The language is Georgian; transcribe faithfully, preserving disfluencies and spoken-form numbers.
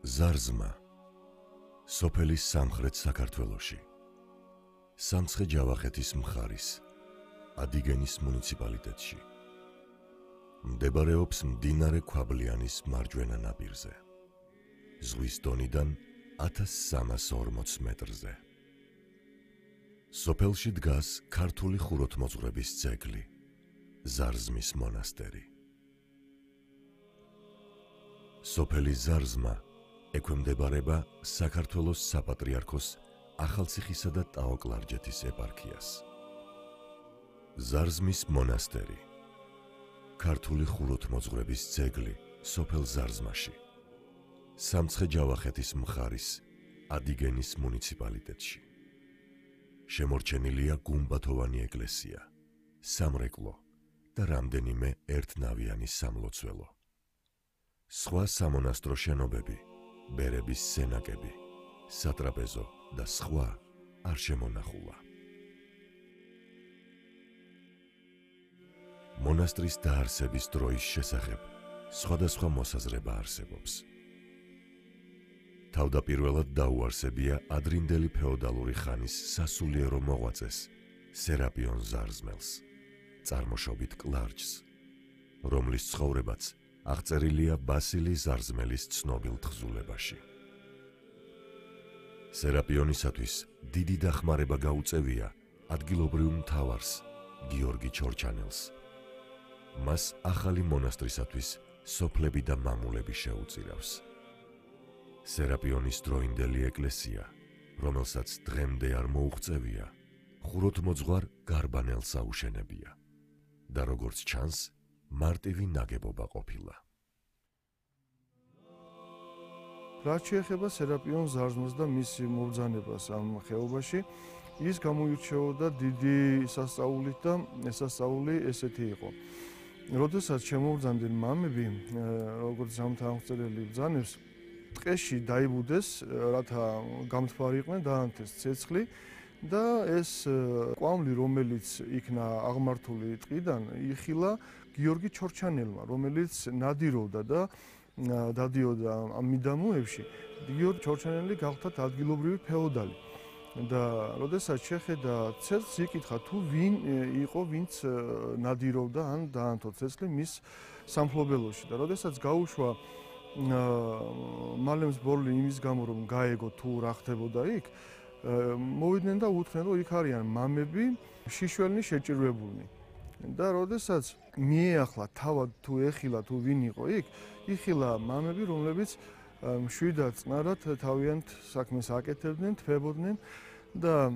ზარზმა სოფელის სამხრეთ საქართველოში სამცხე-ჯავახეთის მხარის ადიგენის მუნიციპალიტეტში მდებარეობს მდინარე ქვაბლიანის მარჯვენა ნაპირზე ზღვის დონიდან ათას სამას ორმოც მეტრზე. სოფელში დგას ქართული ხუროთმოძღვრების ძეგლი ზარზმის მონასტერი. სოფელი ზარზმა ექვემდებარება საქართველოს საპატრიარქოს ახალციხისა და ტაო-კლარჯეთის ეპარქიას. ზარზმის მონასტერი ქართული ხუროთმოძღვრების ძეგლი სოფელ ზარზმაში სამცხე-ჯავახეთის მხარის ადიგენის მუნიციპალიტეტში. შემორჩენილია გუმბათოვანი ეკლესია, სამრეკლო და რამდენიმე ერთნავიანი სამლოცველო. სხვა სამონასტრო შენობები, ბერების სენაკები, სატრაპეზო და სხვა არ შემონახულა. მონასტრის დაარსების დროის შესახებ სხვადასხვა მოსაზრება არსებობს. თავდაპირველად დაუარსებია ადრინდელი ფეოდალური ხანის სასულიერო მოღვაწეს სერაპიონ ზარზმელს, წარმოშობით კლარჯს, რომლის ცხოვრებაც აღწერილია ბასილი ზარზმელის ცნობილ თხზულებაში. სერაპიონისათვის დიდი დახმარება გაუწევია ადგილობრივ მთავარს გიორგი ჩორჩანელს. მას ახალი მონასტრისათვის სოფლები და მამულები შეუწირავს. სერაპიონის დროინდელი ეკლესია, რომელსაც დღემდე არ მოუღწევია, ხუროთმოძღვარ გარბანელს აუშენებია და როგორც ჩანს, მარტივი ნაგებობა ყოფილა. რაც შეეხება სერაპიონ ზარზმას და მის მობრძანებას ამ ხეობაში, ის გამოირჩეოდა დიდი სასწაულით და სასწაული ესეთი იყო. როდესაც შემოვბრძანდნენ მამები, როგორც ზამთარ-აღწერელი ბრძანებს, ტყეში დაიბუდეს, რათა გამთბარი იყვნენ, დაანთეს ცეცხლი და ეს კვამლი, რომელიც იქნა აღმართული ტყიდან, იხილა გიორგი ჩორჩანელმა, რომელიც ნადირობდა და დადიოდა ამ მიდამოებში. გიორგი ჩორჩანელი გახლდათ ადგილობრივი ფეოდალი. და როდესაც შეხედა ცეცხლს, იკითხა თუ ვინ იყო, ვინც ნადირობდა ან დაანთო ცეცხლი მის სამფლობელოში. და როდესაც გაუშვა მალემს ბორლი იმის გამო, რომ გაეგო თუ რა ხდებოდა იქ, მოვიდნენ და უთხრენ, რომ იქ არიან მამები, შიშველნი შეჭირვებულნი. და როდესაც მიეახლა თავად თუ ეხილა თუ ვინ იყო იქ, იხილა მამები, რომლებიც მშვიდად წყნარად თავიანთ საქმეს აკეთებდნენ, თვებოდნენ და